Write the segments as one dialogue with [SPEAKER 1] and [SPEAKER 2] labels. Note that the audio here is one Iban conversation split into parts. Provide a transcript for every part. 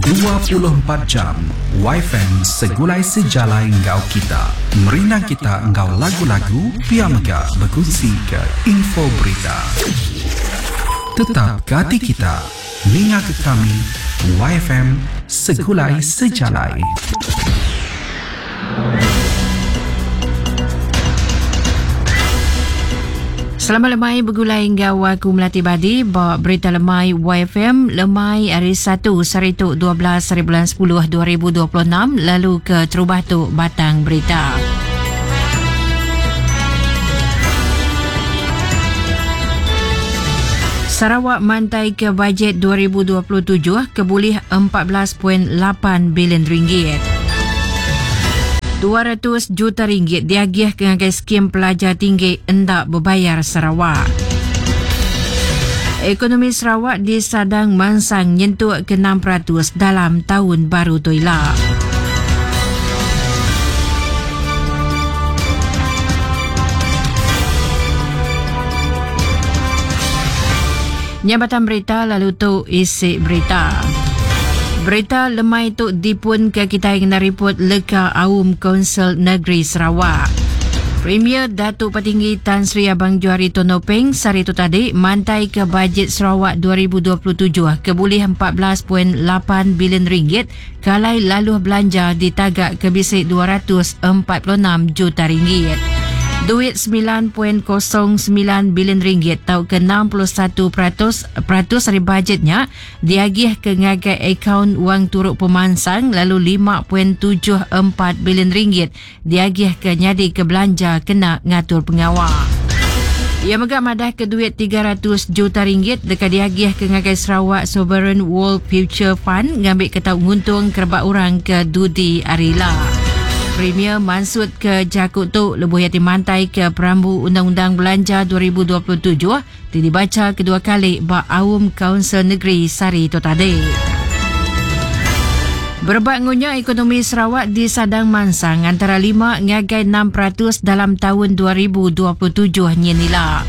[SPEAKER 1] 24 jam Wifi segulai sejalai enggau kita. Merindang kita enggau lagu-lagu pia mega bekunsi ke info berita. Tetap ke ati kita. Ninga ke kami YFM Segulai Sejalai.
[SPEAKER 2] Selamat lemai begulai enggau aku Melati Badi ba Berita Lemai YFM lemai hari 1 sehari tu 12 hari bulan 10 2026 lalu ke terubah tu batang berita. Sarawak mantai ke bajet 2027 ke bulih 14.8 bilion ringgit. 200 juta ringgit diagih ke ngagai skim pelajar tinggi enda bebayar Sarawak. Ekonomi Sarawak disadang mansang nyentuk ke 6% dalam taun baru tu ila. Nya batang berita lalu tu isi berita. Berita lemai tu dipun ke kitai ngena riput leka Aum Kaunsil Negeri Sarawak. Premier Datuk Patinggi Tan Sri Abang Johari Tun Openg sehari tu tadi mantai ke bajet Sarawak 2027 ke bulih 14.8 bilion ringgit Kalai laluh belanja ditaga ke bisi 246 juta ringgit. Duit 9.09 bilion ringgit tauka 61% peratus ari bajet nya diagih ke ngagai akaun wang turu pemansang lalu 5.74 bilion ringgit diagihka nyadika belanja kena ngatur pengawa. Iya mega madahka duit 300 juta ringgit deka diagihka ngagai Sarawak Sovereign World Future Fund ngambika tau nguntung kerebak orang ke dudi hari ila. Premier mansutka jaku tu lebuh iya ti mantaika Perambu Undang-Undang Belanja 2027 ti dibacha kedua kali ba Aum Kaunsil Negeri sehari tu tadi. Berebak ngunya ekonomi Sarawak disadang mansang antara 5 ngagai 6% dalam taun 2027 nyin ila.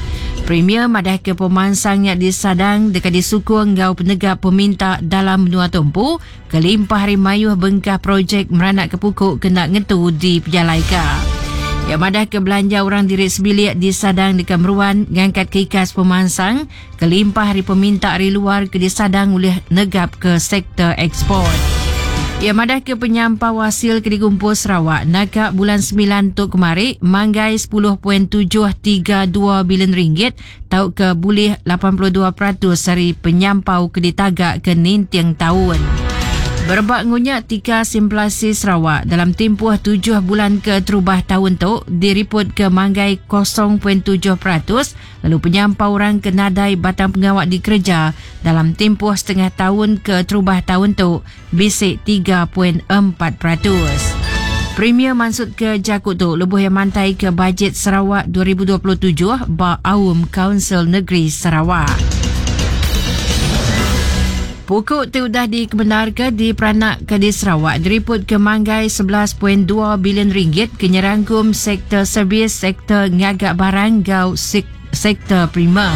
[SPEAKER 2] Premier madahka pemansang nya disadang deka disukung enggau penegap peminta dalam menua tu empu Kelimpah ari mayuh bengkah projek meranakka puku kena ngetu dipejalaika. Iya madahka belanja orang diri sebilik disadang deka meruan ngangkatka ikas pemansang kelimpah ari peminta ari luar ke disadang ulih negapka sektor eksport. Iya madahka penyampau asil ke digumpul Sarawak naka bulan semilan tu kemari manggai 10.732 bilion ringgit tauka bulih 82% ari penyampau ke ditaga ke ninting taun. Berebak ngunya tikas inflasi Sarawak dalam timpuh tujuh bulan keterubah taun tu diripotka manggai 0.7% lalu penyampau orang ke nadai batang pengawa dikereja dalam timpuh setengah taun keterubah taun tu bisi 3.4%. Premier mansutka jaku tu lebuh iya mantaika Bajet Sarawak 2027 ba Aum Kaunsil Negeri Sarawak. Puku ti udah dikemendarka diperanakka di Sarawak diripotka manggai 11.2 bilion ringgit ke nyerangkum sektor servis, sektor ngaga barang enggau sektor primer.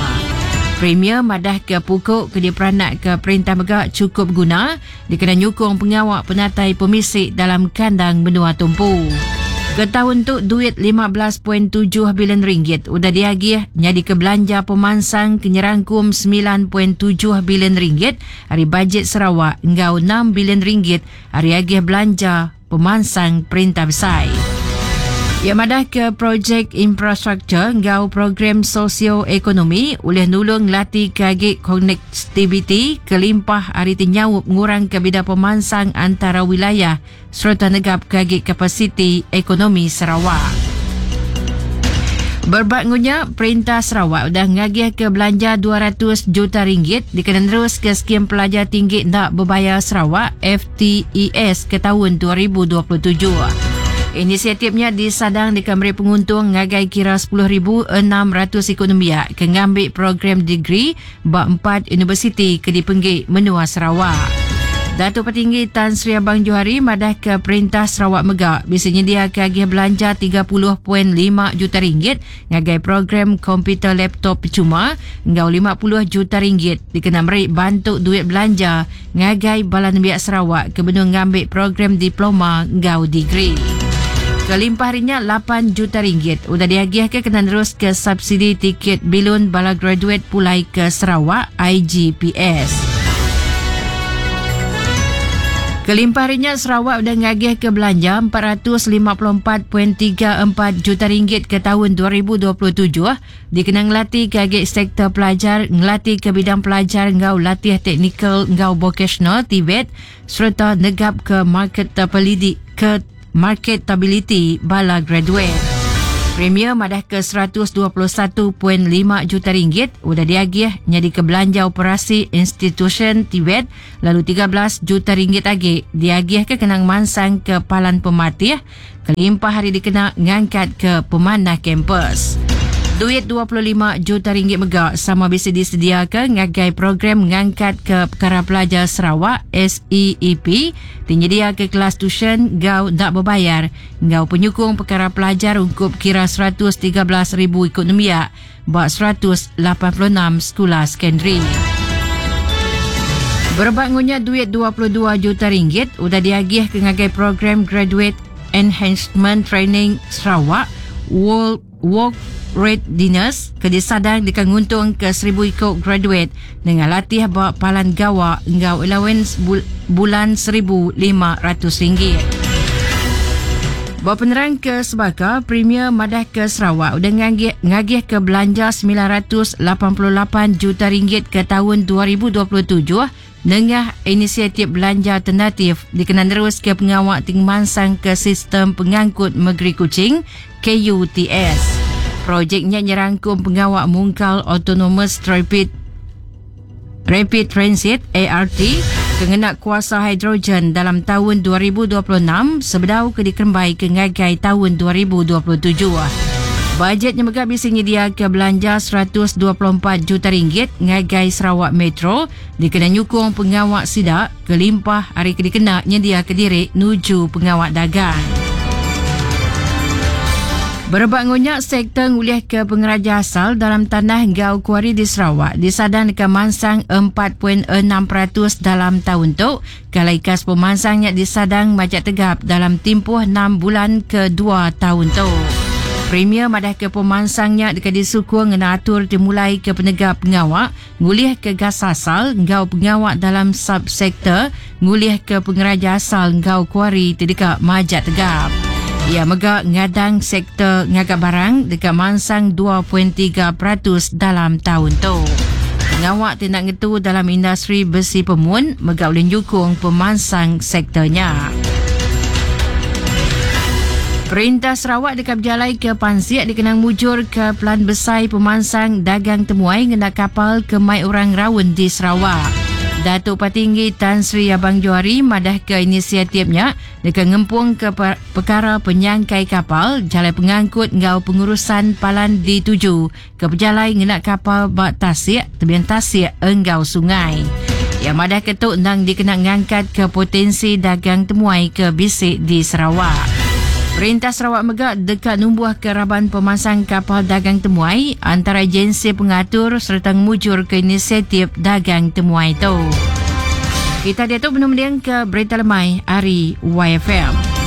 [SPEAKER 2] Premier madahka puku ke diperanakka perintah mega chukup beguna dikena nyukung pengawa penatai pemisi dalam kandang menua tumpu. Ke taun tu duit 15.7 bilion ringgit udah diagih nyadika belanja pemansang ke nyerangkum 9.7 bilion ringgit ari bajet Sarawak enggau 6 bilion ringgit ari agih belanja pemansang perintah besai. Iya madahka projek infrastruktur enggau program sosio-ekonomi ulih nulung ngelatika agi konektiviti kelimpah ari ti nyaup ngurangka bida pemansang antara wilayah sereta negapka agi kapasiti ekonomi Sarawak. Berebak enggau nya, Perintah Sarawak udah ngagihka belanja 200 juta ringgit dikena neruska Skim Pelajar Tinggi Enda Bebayar Sarawak, FTES, ke taun 2027. Inisiatif nya disadang deka meri penguntung ngagai kira 10,600 iku nembiak ke ngambi program degree ba empat universiti ke dipenggi menua Sarawak. Datuk Patinggi Tan Sri Abang Johari madahka Perintah Sarawak mega bisi nyediaka agih belanja 30.5 juta ringgit ngagai program komputer laptop pechuma enggau 50 juta ringgit dikena meri bantu duit belanja ngagai bala nembiak Sarawak ke benung ngambi program diploma enggau degree. Kelimpah ari nya, 8 juta ringgit udah diagihka kena neruska subsidi tiket bilun bala graduate pulai ke Sarawak, IGPS. Kelimpah ari nya, Sarawak udah ngagihka belanja 454.34 juta ringgit ke taun 2027 dikena ngelatihka agi sektor pelajar, ngelatihka bidang pelajar enggau latih teknikal enggau vokasional, TVET, sereta negapka marketability bala graduate. Premier madahka 121.5 juta ringgit udah diagih nyadika belanja operasi institusyen TVET lalu 13 juta ringgit agi diagihka kena ngemansangka palan pematih kelimpah ari dikena ngangkatka pemanah kampus. Duit 25 juta ringgit mega sama bisi disediaka ngagai Program Ngangkatka Pekara Pelajar Sarawak, SEEP, ti nyediaka kelas tusyen enggau enda bebayar enggau penyukung pekara pelajar ungkup kira 113,000 iku nembiak ba 186 sekula sekondari. Berebak enggau nya, duit 22 juta ringgit udah diagihka ngagai Program Graduate Enhancement Training Sarawak, World Work Readiness, ke disadang deka nguntungka 1,000 iku graduate nengah latih ba palan gawa enggau allowance bulan 1,500 ringgit. Ba penerang ke sebaka, Premier madahka Sarawak udah ngagihka belanja 988 juta ringgit ke taun 2027 nengah inisiatif belanja alternatif dikena neruska pengawa ti ngemansangka sistem pengangkut Megeri Kuching, KUTS. Projek nya nyerangkum pengawa mungkal Autonomous Rapid Rapid Transit, ART, ke ngena kuasa hidrogen dalam taun 2026 sebedau ke dikerembaika ngagai taun 2027. Bajet nya mega bisi nyediaka belanja 124 juta ringgit ngagai Sarawak Metro dikena nyukung pengawa sida kelimpah ari ke dikena nyendiaka diri nuju pengawa dagang. Berebak enggau nya, sektor ngulihka pengeraja asal dalam tanah enggau kuari di Sarawak disadang deka mansang 4.6% dalam taun tu, ke alai ikas pemansang nya disadang majak tegap dalam timpuh enam bulan kedua taun tu. Premier madahka pemansang nya deka disukung ngena atur ti mulaika penegap pengawa ngulihka gas asal enggau pengawa dalam subsektor ngulihka pengeraja asal enggau kuari ti deka majak tegap. Iya mega ngadang sektor ngaga barang deka mansang 2.3% dalam taun tu. Pengawa ti enda ngetu dalam industri besi pemun mega ulih nyukung pemansang sektor nya. Perintah Sarawak deka bejalaika pansik dikena ngemujurka pelan besai pemansang dagang temuai ngena kapal ke mai orang raun di Sarawak. Datuk Patinggi Tan Sri Abang Johari madahka inisiatif nya deka ngempungka pekara penyangkai kapal, jalai pengangkut enggau pengurusan palan dituju ke pejalai ngena kapal ba tasik, tebing tasik enggau sungai. Iya madahka tu endang dikena ngangkatka potensi dagang temuai ke bisi di Sarawak. Perintah Sarawak mega deka numbuhka raban pemansang kapal dagang temuai antara agensi pengatur sereta ngemujurka inisiatif dagang temuai tu. Kita diatu benung mendingka berita lemai ari YFM.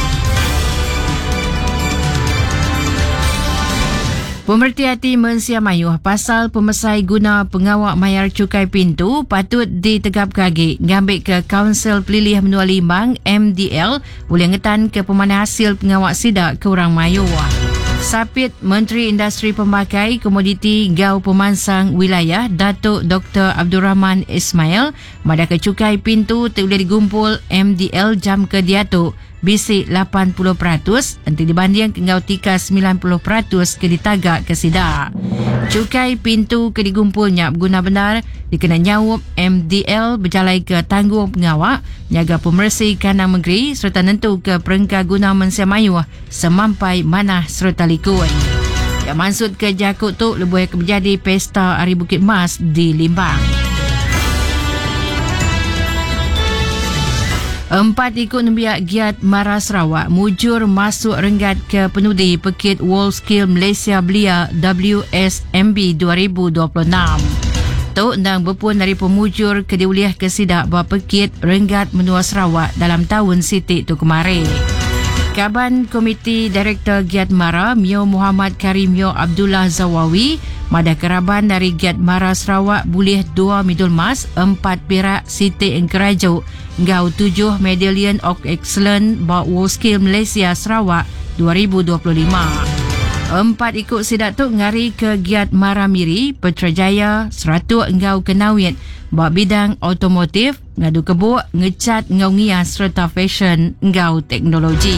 [SPEAKER 2] Pemereti ati mensia mayuh pasal pemesai guna pengawa mayar chukai pintu patut ditegapka agi ngambika Kaunsil Pelilih Menua Limbang, MDL, ulih ngetanka pemanah asil pengawa sida ke orang mayuh. Sapit Menteri Industri Pemakai, Komoditi enggau Pemansang Wilayah Datuk Doktor Abdul Rahman Ismail madahka chukai pintu ti ulih digumpul MDL jam ke diatu bisi 80% enti dibandingka enggau tikas 90% ke ditagaka sida. Chukai pintu ke digumpul nya beguna bendar dikena nyaup MDL bejalaika tanggung pengawa nyaga pemeresi kandang mengeri sereta nentuka perengka guna mensia mayuh semampai manah sereta likun. Iya mansutka jaku tu lebuh iya ke bejadi Pesta Hari Bukit Mas di Limbang. Empat ikut nembiak giat Mara Sarawak mujur masuk renggat ke penudi Pekit World Skill Malaysia Belia WSMB 2026. Tu endang berpun dari pemujur ke diulih ke sidak ba Pekit Renggat Menua Sarawak dalam tahun Siti tu kemarin. Kaban Komiti Direktor Giat Mara Mio Muhammad Karim Mio Abdullah Zawawi madah keraban dari Giat Mara Sarawak bulih 2 medal emas, 4 perak Siti Engkerajuk ngau 7 Medallion of Excellence ba World Skill Malaysia Sarawak 2025. Empat ikut sidak tu ngari ke Giat Mara Miri, Petrajaya, Seratuk ngau Kenawit ba bidang otomotif, ngadu kebuk, ngecat ngau ngias serta fashion ngau teknologi.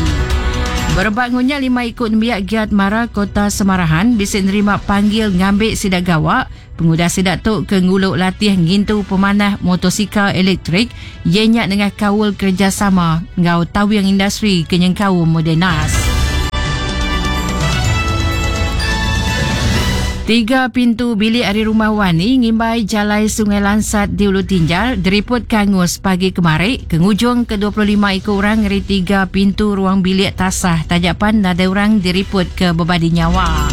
[SPEAKER 2] Berebak ngunya 5 ikut nembiak Giat Mara Kota Semarahan bisa nerima panggil ngambil sidak gawak. Pengudah sidak tu ke nguluk latih ngintu pemanah motosikal elektrik ianya dengan kaul kerjasama ngau tawing industri kenyengkau Modernas. 3 pintu bilik dari rumah Wani ngimbai jalai Sungai Lansat di Ulu Tinjar diriput kangus pagi kemarin ke ngujung ke 25 ikut orang ngeri 3 pintu ruang bilik tasah tajapan nadai orang diriput ke bebadi nyawa.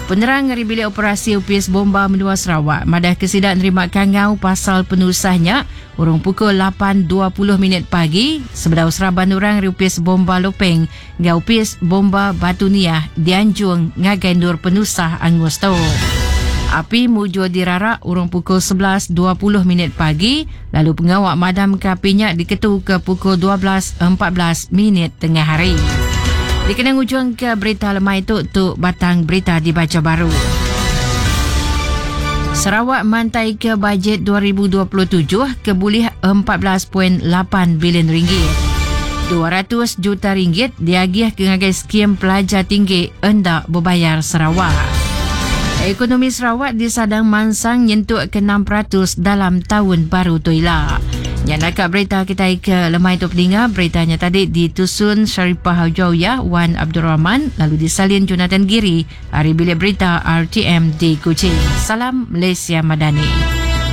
[SPEAKER 2] Penerang ngeri bilik operasi UPS Bomba Menua Sarawak madah kesidak nerima kangau pasal penusahnya urung pukul 8.20 minit pagi sebedau seraban orang UPS Bomba Lopeng ngau UPS Bomba Batu Niah dianjung ngagai nur penusah angus tu. Api mujur dirarak urung pukul 11.20 minit pagi lalu pengawak madam ke apinya diketu ke pukul 12.14 minit tengah hari. Dikenang ujung ke berita lemai itu tu batang berita dibaca baru. Sarawak mantai ke bajet 2027 ke bulih 14.8 bilion ringgit. 200 juta ringgit diagih ke ngagai skim pelajar tinggi endak berbayar Sarawak. Ekonomi Sarawak disadang mansang nyentuk ke 6% dalam tahun baru tu ila. Yang nak berita kita ke lemai tu peninga, beritanya tadi ditusun Sharifah Hajawiyah Wan Abdul Rahman lalu disalin Jonathan Giri hari bilik berita RTM di Kuching. Salam Malaysia Madani.